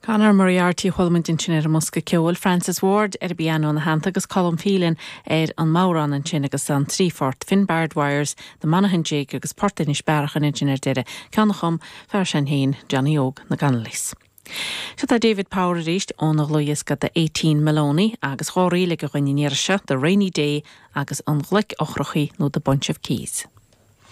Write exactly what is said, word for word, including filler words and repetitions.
Conor Moriarty chuala muid ansin ar an mbosca ceoil Francis Ward ar an bpianó ina theannta agus Colm Phelan ar an mbodhrán ansin agus an trí phort Finbard Wires, The Monaghan Jig agus Port Inis Bearachain ansin ar deireadh ceann a chum fear sin féin Johnny Óg na gConnolly's. Seo tá David Power arís óna dhlúthdhiosca The Eighteen Maloney agus dhá ríle againn an iarraidh seo The Rainy Day agus an Ghloic Eochrachaí nó The Bunch of Keys.